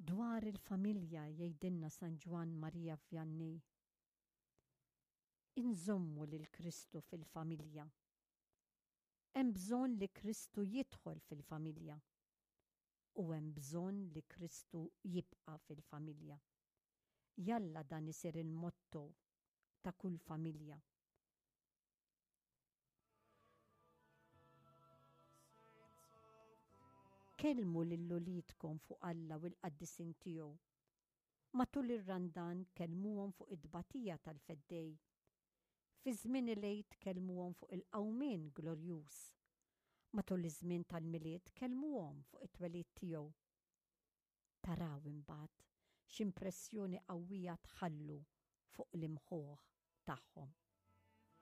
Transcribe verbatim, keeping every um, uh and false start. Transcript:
Dwar il-familja jgħidilna San Ġwann Maria Vianney: Inżommu lil Kristu fil-familja. Hemm bżonn li Kristu jidħol fil-familja u hemm bżonn li Kristu jibqa' fil-familja. Jalla dan isir il-motto ta' kull familja. Kellmu lil uliedkom fuq Alla u l-qaddisin tiegħu. Matul ir-Randan kellmuhom fuq it-tbatija tal-Feddej. Fi żmien il-Għid kellmuhom fuq il-qawmien glorjuż. Matul iż-żmien tal-Milied kellmuhom fuq it-twelid tiegħu. Taraw imbagħad x'impressjoni qawwija tħallu fuq l-imħuħ tagħhom.